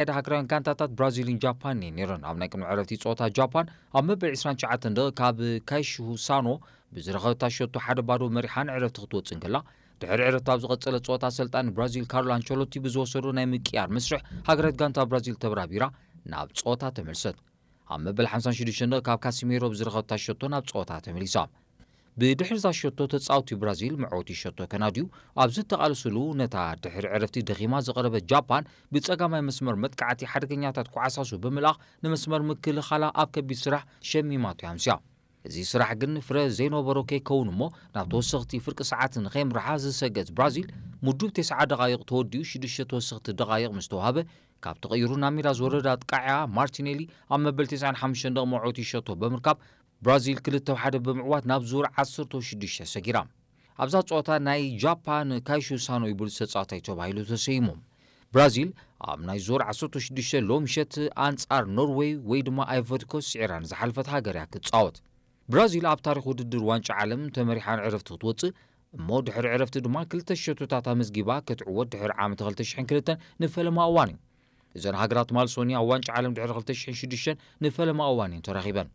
ዘካየዳ ሃገራውያን ጋንታታት ብራዚልን ጃፓንን እየን ነይረን። ኣብ ናይ ቅድሚ ዕረፍቲ ጸወታ ጃፓን ኣብ መበል ዕስራን ትሽዓተን ደቂቕ ካብ ካይሹ ሳኖ ብዝረኸበታ ሸቶ ሓደ ባዶ መሪሓ ንዕረፍቲ ክትወጽእ እንከላ፣ ድሕሪ ዕረፍቲ ኣብ ዝቐጸለ ጸወታ ኣሰልጣኒ ብራዚል ካርሎ ኣንቸሎቲ ብዝወሰዶ ናይ ምቅያር መስርሕ ሃገራዊት ጋንታ ብራዚል ተብራቢራ ናብ ጸወታ ተመልሰት። ኣብ መበል ሓምሳን ሽዱሽተን ደቂቕ ካብ ካሲሜሮ ብዝረኸበታ ሸቶ ናብ ጸወታ ተመሊሳ። ብድሕሪ እዛ ሸቶ ተጻወቲ ብራዚል መዕወቲ ሸቶ ከናድዩ ኣብ ዝተቓለስሉ፣ ነታ ድሕሪ ዕረፍቲ ደኺማ ዝቐረበት ጃፓን ብጸጋማይ መስመር መጥቃዕቲ ሓደገኛታት ኳዕሳሱ ብምልኣኽ ንመስመር ምክልኻላ ኣብ ከቢድ ስራሕ ሸሚማቶ ኣምስያ። እዚ ስራሕ ግን ፍረ ዘይነበሮ ከይከውን እሞ ናብ ተወሰኽቲ ፍርቂ ሰዓት ንኸየምርሓ ዝሰገት ብራዚል፣ ምዱብ ተስዓ ደቓይቕ ተወዲኡ ሽዱሽተ ተወሰኽቲ ደቓይቕ ምስ ተዋህበ፣ ካብ ተቐይሩ ናብ ሜዳ ዝወረደ ኣጥቃዕያ ማርቲኔሊ ኣብ መበል ተስዓን ሓሙሽተን ደቕ መዕወቲ ሸቶ ብምርካብ ብራዚል ክልተ ሓደ ብምዕዋት ናብ ዙር ዓሰርተ ሽዱሽተ ሰጊራ። ኣብዛ ጸወታ ናይ ጃፓን ካይሹ ሳኖ ይበሉ ተጻዋታይ ተባሂሉ ተሰይሙ። ብራዚል ኣብ ናይ ዙር ዓሰርተ ሽዱሽተ ሎሚ ምሸት ኣንጻር ኖርዌይ ወይ ድማ ኣይቮሪኮስት ስዒራ ንዝሓለፈት ሃገር እያ ክትጻወት። ብራዚል ኣብ ታሪኽ ውድድር ዋንጫ ዓለም ተመሪሓ ንዕረፍቲ ክትወጽእ እሞ ድሕሪ ዕረፍቲ ድማ ክልተ ሸቶታት ኣመዝጊባ ክትዕወት ድሕሪ ዓመት ክልተ ሽሕን ክልተን ንፈለማ እዋን እዩ። እዘን ሃገራት ማልሶኒ ኣብ ዋንጫ ዓለም ድሕሪ ክልተ ሽሕን ሽዱሽተን ንፈለማ እዋን እየን ተራኺበን።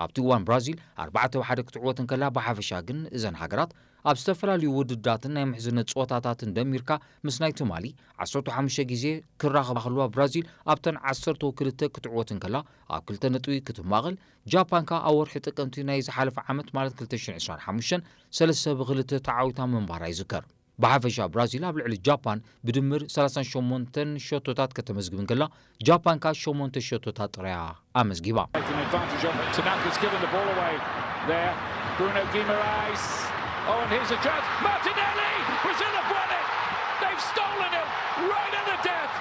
ኣብቲ እዋን ብራዚል ኣርባዕተ ብ ሓደ ክትዕወት እንከላ፣ ብሓፈሻ ግን እዘን ሃገራት ኣብ ዝተፈላለዩ ውድዳትን ናይ ምሕዝነት ጸወታታትን ደሚርካ ምስ ናይ ትማሊ ዓሰርተ ሓሙሽተ ግዜ ክራኸባ ከለዋ፣ ብራዚል ኣብተን ዓሰርተ ክልተ ክትዕወት እንከላ ኣብ ክልተ ነጥቢ ክትማቐል፣ ጃፓን ከኣ ኣብ ወርሒ ጥቅምቲ ናይ ዝሓለፈ ዓመት ማለት ክልተ ሽሕን ዕስራን ሓሙሽተን ሰለስተ ብ ክልተ ተዓዊታ ምንባራ ይዝከር። ብሓፈሻ ብራዚል ኣብ ልዕሊ ጃፓን ብድምር ሰላሳን ሸሞንተን ሸቶታት ከተመዝግብ እንከላ፣ ጃፓን ከኣ ሸሞንተ ሸቶታት ጥራያ ኣመዝጊባ። Taking advantage of it. Tanaka's given the ball away there. Bruno Guimaraes. Oh, and here's a chance. Martinelli! Brazil have won it! They've stolen it right at the death!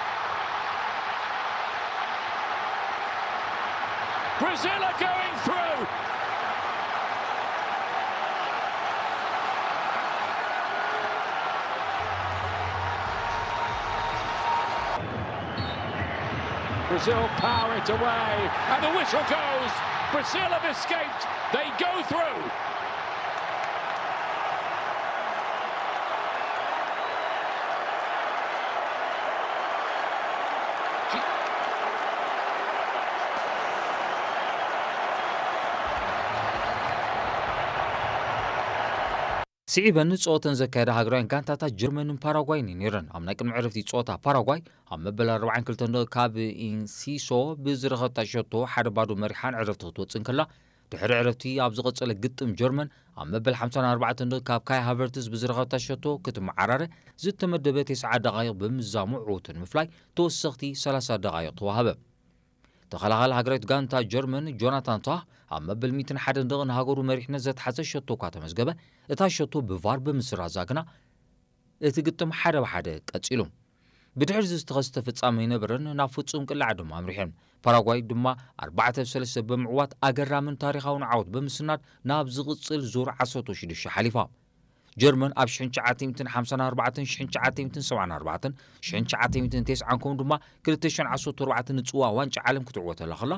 Brazil are going through! Brazil power it away, and the whistle goes. Brazil have escaped. They go through. ስዒበን ጸወተን ዘካየዳ ሃገራውያን ጋንታታት ጀርመንን ፓራጓይን እየን ነይረን። ኣብ ናይ ቅድሚ ዕረፍቲ ጸወታ ፓራጓይ ኣብ መበል ኣርባዓን ክልተን ደቂቕ ካብ ኢንሲሶ ብዝረኸብታ ሸቶ ሓደ ባዶ መሪሓ ንዕረፍቲ ክትወጽእ እንከላ፣ ድሕሪ ዕረፍቲ ኣብ ዝቐጸለ ግጥም ጀርመን ኣብ መበል ሓምሳን ኣርባዕተን ደቂቕ ካብ ካይ ሃቨርትስ ብዝረኸብታ ሸቶ ክትመዓራረ ዝተመደበ ተስዓ ደቓይቕ ብምዛሙ ዕውቲ ንምፍላይ ተወሰኽቲ ሰላሳ ደቓይቕ ተዋህበ። ተኸላኻሊ ሃገራዊት ጋንታ ጀርመን ጆናታን ታህ ኣብ መበል ሚእትን ሓደን ደቒቕ ንሃገሩ መሪሕነት ዘትሓዘ ሸቶ እኳ ተመዝገበ፣ እታ ሸቶ ብቫር ብምስራዛ ግና እቲ ግጥም ሓደ ብሓደ ቀጺሉ። ብድሕሪ እዚ ዝተኸስተ ፍጻመ ኣይነበረን፣ ናብ ፍጹም ቅላዕ ድማ ኣምሪሐን። ፓራጓይ ድማ ኣርባዕተ ብ ሰለስተ ብምዕዋት ኣገራምን ታሪኻውን ዓወት ብምስናድ ናብ ዝቕጽል ዙር ዓሰርተ ሽዱሽተ ሓሊፋ። ጀርመን ኣብ ሽሕን ትሽዓተ ሚእትን ሓምሳን ኣርባዕተን፣ ሽሕን ትሽዓተ ሚእትን ሰብዓን ኣርባዕተን፣ ሽሕን ትሽዓተ ሚእትን ተስዓን ከምኡ ድማ ክልተ ሽሕን ዓሰርተ ኣርባዕተን ንጽዋ ዋንጫ ዓለም ክትዕወተላ ከላ፣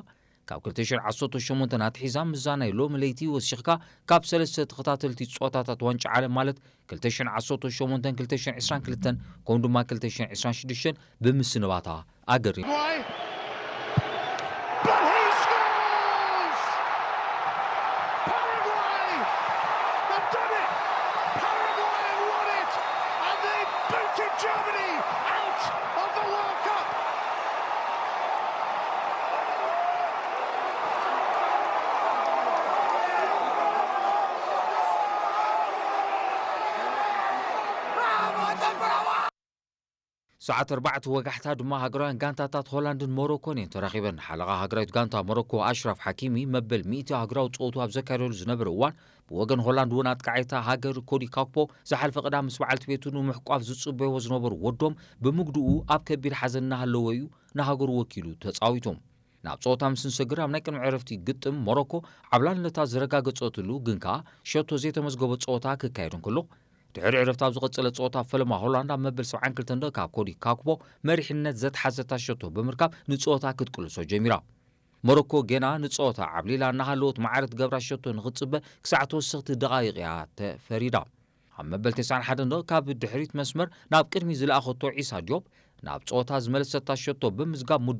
ካብ ክልተ ሽሕን ዓሰርተ ሸሞንተን ኣትሒዛ ምስዛ ናይ ሎሚ ለይቲ ወሲኽካ ካብ ሰለስተ ተኸታተልቲ ጸወታታት ዋንጫ ዓለም ማለት ክልተ ሽሕን ዓሰርተ ሸሞንተን ክልተ ሽሕን ዕስራን ክልተን ከምኡ ድማ ክልተ ሽሕን ዕስራን ሽዱሽተን ብምስንባታ ኣገሪሙ። Why? But he scores! Paraguay have done it! Paraguay have won it! And they booted Germany out of the World Cup! ሰዓት ኣርባዕተ ወጋሕታ ድማ ሃገራውያን ጋንታታት ሆላንድን ሞሮኮን እየን ተራኺበን። ሓለቓ ሃገራዊት ጋንታ ሞሮኮ ኣሽራፍ ሓኪሚ መበል ሚእቲ ሃገራዊ ጸወቱ ኣብ ዘካየደሉ ዝነበረ እዋን፣ ብወገን ሆላንድ እውን ኣጥቃዒታ ሃገር ኮዲ ካክፖ ዝሓልፈ ቅዳም ምስ በዓልቲ ቤቱ ንምሕቋፍ ዝጽበይዎ ዝነበሩ ወዶም ብምጉድኡ ኣብ ከቢድ ሓዘን እናሃለወ እዩ ንሃገሩ ወኪሉ ተጻዊቱ። ናብ ጸወታ ምስ ንሰግር ኣብ ናይ ቅድሚ ዕረፍቲ ግጥም ሞሮኮ ዓብላልነታ ዘረጋገጸትሉ ግን ከኣ ሸቶ ዘይተመዝገቦ ጸወታ ክካየድ እንከሎ፣ ድሕሪ ዕረፍቲ ኣብ ዝቐጸለ ጸወታ ፈለማ ሆላንድ ኣብ መበል ሰብዓን ክልተን ደቂቕ ካብ ኮዲ ካክፖ መሪሕነት ዘትሓዘታ ሸቶ ብምርካብ ንጸወታ ክትቅልሶ ጀሚራ። ሞሮኮ ገና ንጸወታ ዓብሊላ እናሃለወት ማዕረ ትገብራ ሸቶ ንኽትጽበ ክሳዕ ተወሰኽቲ ደቓይቕ እያ ተፈሪዳ። ኣብ መበል ተስዓን ሓደን ደቂቕ ካብ ድሕሪት መስመር ናብ ቅድሚት ዝለኣኸቶ ዒሳ ዲዮፕ ናብ ጸወታ ዝመለሰታ ሸቶ ብምዝጋብ